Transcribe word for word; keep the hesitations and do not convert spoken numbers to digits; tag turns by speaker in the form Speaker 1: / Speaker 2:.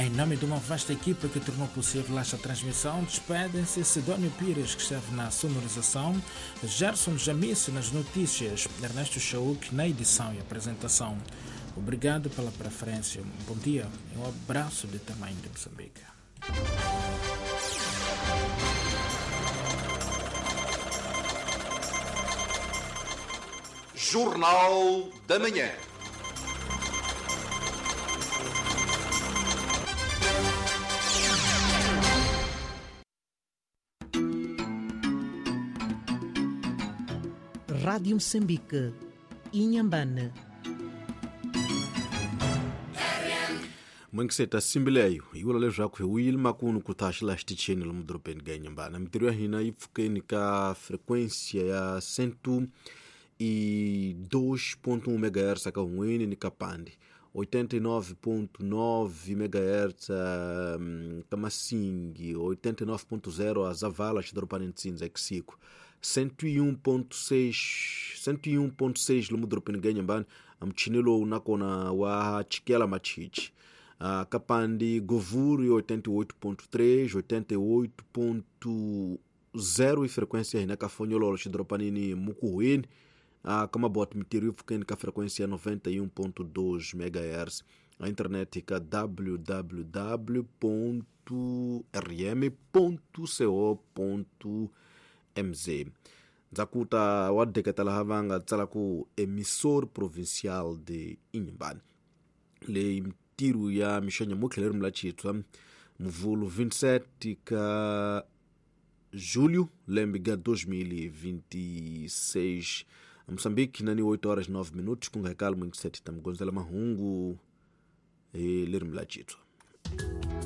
Speaker 1: Em nome de uma vasta equipa que tornou possível esta transmissão, despedem-se Sidónio Pires, que esteve na sonorização, Gerson Jamice nas notícias, Ernesto Chauk na edição e apresentação. Obrigado pela preferência. Bom dia e um abraço de tamanho de Moçambique.
Speaker 2: Jornal da Manhã.
Speaker 3: Rádio Moçambique, Inhambane.
Speaker 4: Mwengiseta simbileyo yi vula leswaku hi wile makunu ku ta xi la xitichini lomu dorobeni ka Inhambane. Mintirho ya hina yi pfukeni ka frequência ya cento e dois ponto um megahertz ka Hun'wini ni ka Pande, oitenta e nove ponto nove megahertz ka Massingue, oitenta e nove ponto zero a Zavala, xidorobani Ntsinza Exico, cento e um ponto seis, cento e um ponto seis lomu dorobeni ka Inhambane, muchini lowu nakona wa chikela machichi. Uh, Kapandi Govuri oitenta e oito ponto três, oitenta e oito ponto zero e frequência hina ka Fonhololo xidoropanini Mukuhwini, uh, Kamabote Mitirio pfukeni ka frequência noventa e um ponto dois megahertz. A internet ka w w w ponto r m ponto co ponto m z. Ndzhakuta wa deketa laha va nga tsala ku emissor provincial de Inhambane. Leyi ntirho ya mixo nyamuntlha leri mula Tshitshwa Muvhulu vinte e sete ka julho lembe ga dois mil e vinte e seis. Moçambique nani oito horas e nove minutos ku nga hekali mwingiseti ta mugondzela mahungu hi leri mula Tshitshwa.